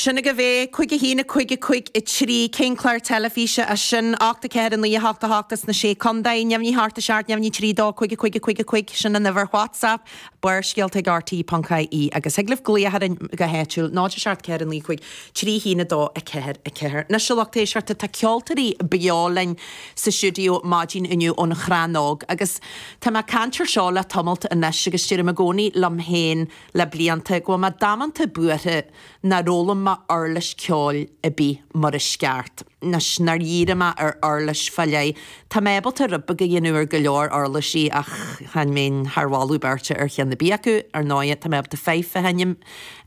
Sin agaibh é, 5 1 5 5 3, cén clár teilifíse é sin? 8 4 9 8 8 as na Sé Contae, neamhní 8 7 neamhní 3 2 5 5 5 5, sin an uimhir WhatsApp, Barrscéalta ag RTÉ.ie agus thig libh glaoch orainn go háitiúil, 0 7 4 9 5 3 1 2 4 4. Anois a lucht éisteachta, tá ceoltóirí beo linn sa stiúideo maidin inniu ón Chrannóg agus tá mé ag caint ar seo le tamalt anois agus deirim i gcónaí liom féin le blianta go bhfuil mé damanta buartha nár fhoghlaim mé uirlis ceoil ar bith mar is ceart. Anois, nár dhírigh mé ar uirlis fá leith. Tá mé ábalta rud beag a dhéanamh ar go leor uirlisí ach chan bheinn thar mholadh beirte ar cheann ar bith acu. Ar ndóighe, tá mé ábalta fidhe a sheinm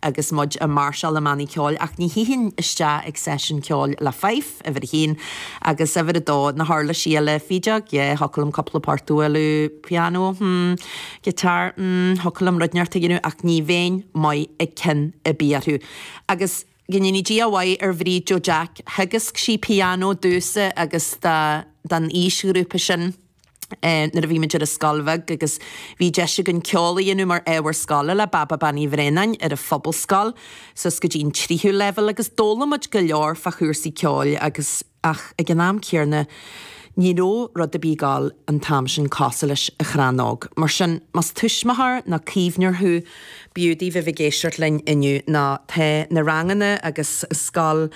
agus muid ag máirseáil i mbannaí ceoil ach ní shuífinn isteach ag seisiún ceoil le fife, uimhir a haon, agus uimhir a dó, na huirlisí eile, fídeog, yeah, thiocfadh liom cúpla port a bhualadh, pianó, hmm, guitar, hmm, thiocfadh liom rud inteacht a dhéanamh ach ní bheinn maith ag ceann ar bith orthu. Agus go ndéanaí Dia a mhaith ar Bhríd Joe Jack, theagasc sí pianó domhsa agus don aoisghrúpa sin nuair a bhí muid ar an scoil bheag agus bhí deis againn ceol a dhéanamh mar ábhar scoile le Baba Bean Uí Bhraonáin ar an Phobalscoil suas go dtí an tríú leibhéal agus d'fhoghlaim muid go leor fá chúrsaí ceoil agus Ach ag an am céarna, ní raibh rud ar bith ag gabháil an t-am sin cosúil leis an Chrannóg. Mar sin, más tuismitheoir nó caomhnóir thú, b'fhiú daoibh a bheith ag éisteacht linn inniu nó tá na ranganna agus Scoil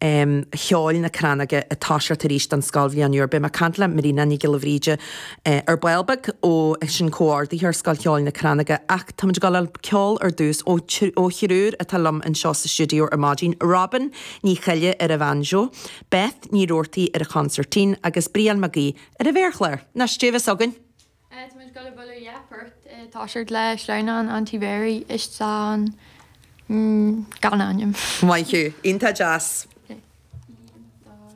Cheoil na Crannóige ag toiseacht arís don scoilbhliain úr. Beidh mé ag caint le Marina Nic Giolla Bhríde ar ball beag ó sin comhordaitheoir Scoil Cheoil na Crannóige ach táimid ag gabháil a ceol ar dtús ó ó thriúr atá liom anseo sa stiúideo ar maidin, Robin Ní Choille ar an bhanjo, Beth Ní Roarty ar an chonsairtín agus Brian Mag Aoidh ar an mhéarchlár. Anois, dé bheas againn? Tá muid ag dul a bualadh dhá phort toiseacht le Sleamhnán an Tí Bhéaraí is an gan ainm. Maith thú. Iontach deas.